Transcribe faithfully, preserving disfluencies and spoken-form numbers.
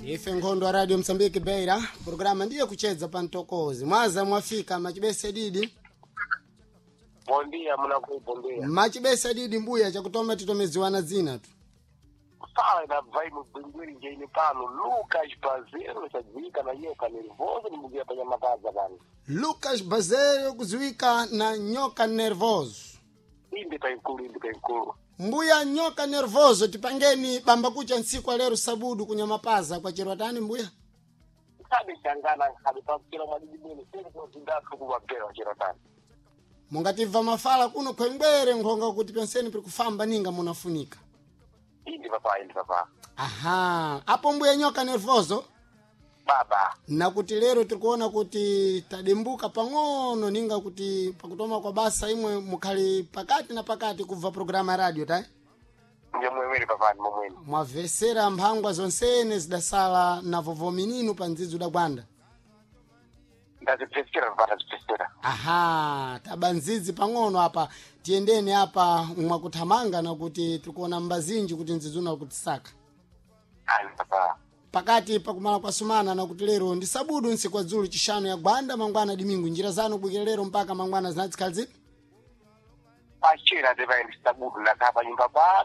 Ife nkhondo wa Radio Msambiki Beira, programa ndiye kuchedza pa mtokozi. Mwaza mwafika machibese didi. Bom dia, mnaku bom dia. Machibese didi mbuya chakutoma titomeziwana dzina tu. Fala na vai mubingwiri njeini pano Lucas Bazero chadziwika na nyoka nervoso nimbugia panya makaza pano. Lucas Bazerio kuziwika na nyoka nervoso. Inde pa inkulu inde pa inkulu. Mbuya nyoka nervoso tipangeni bamba kucha ntsiku lero sabudu kunyamapaza kwa chirwatani mbuya. Sabe changana nkhale pakira mwadidi mwene seri kuzindatu kuwapera chirotani. Mungatimva mafala kuno khwengwere nkhonga kuti penseni piri kufamba ninga munafunika. Inde papa inde papa. Aha, apo mbuya nyoka nervoso Baba nakuti lero tikuona kuti tadimbuka pang'ono ninga kuti pakutoma kwa basa imwe mukhali pakati na pakati kubva programa ya radio tai ndiye mwemweri papa ndi momwene. mwavesera mphangwa zonsene zidasala na vovomininu pa ndzidzi udagwanda Ndazipfesera papa ndazipfesera. aha taba ndzidzi pang'ono apa tiyendeni apa mwakuthamanga nakuti tikuona mbazinji kuti ndzidzi unakutisaka Ayi papa. pakati pakumala kwa sumana nakuti lero ndi sabudu ntsiku adzulu chishanu ya gwanda mangwana dimingu njira zanu kubwikira lero mpaka mangwana zinatsikhala zipi Pachera tepaendesa budu nakhala pa nyumba pano